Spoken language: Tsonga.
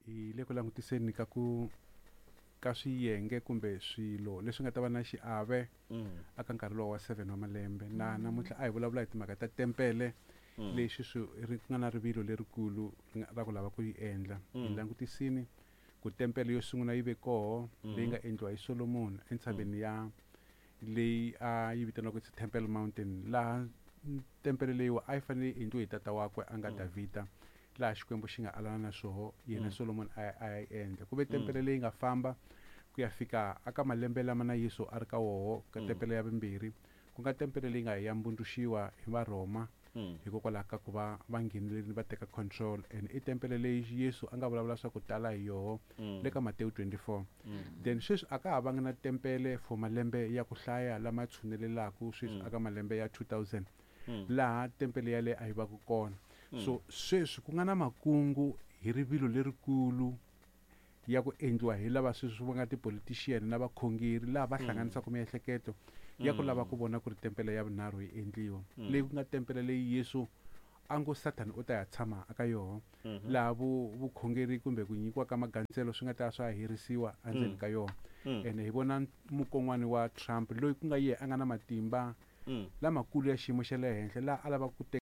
Hi le ku langutiseni ka ku ka swiyenge kumbe swilo leswi nga ta va na xiave aka nkarhi lowu wa 7 wa malembe. Na namuntlha a hi vulavula hi timhaka ta tempele leyi sweswi ri nga na rivilo lerikulu ra ku lava ku yi endla. Hi langutisini ku tempele yo sungula yi ve koho leyi nga endliwa hi Solomon entshaveni ya leyi a yi vitaniwaka ku Temple Mountain, laha tempele leyiwa a yi fanele yi endliwe hi tata wakwe a nga Davhida, laha Xikwembu xi nga alana na swoho yena Solomon a yi endla. Ku ve tempele leyi nga famba ku ya fika aka malembe lama na Yesu a ri ka woho ka tempele ya vumbirhi, ku nga tempele leyi nga ya mbundzuxiwa hi Varhoma hikokwalaho ka ku va va nghenelerile va teka control. And i tempele leyi Yesu a nga vulavula swa ku tala hi yoho le ka Matewu 24. Then sweswi a ka ha vanga na tempele for malembe ya ku hlaya lama tshunelelaku sweswi aka malembe ya 2000 laha tempele yaleyo a yi va ku kona. So sweswi ku nga na makungu hi rivilo lerikulu ya ku endliwa hi lava sweswi va nga ti-politician na vakhongeri laha va hlanganisaka miehleketo ya ku lava ku vona ku ri tempele ya vunharhu yi endliwa, leyi ku nga tempele leyi Yesu a ngo Sathana u ta ya tshama aka yoho, laha vukhongeri kumbe ku nyikiwa ka magandzelo swi nga ta swa herisiwa endzeni ka yona. Ene hi vona mukon'wana wa Trump loyi ku nga yehe a nga na matimba lamakulu ya xiyimo xa le henhla laha a lavaka ku teka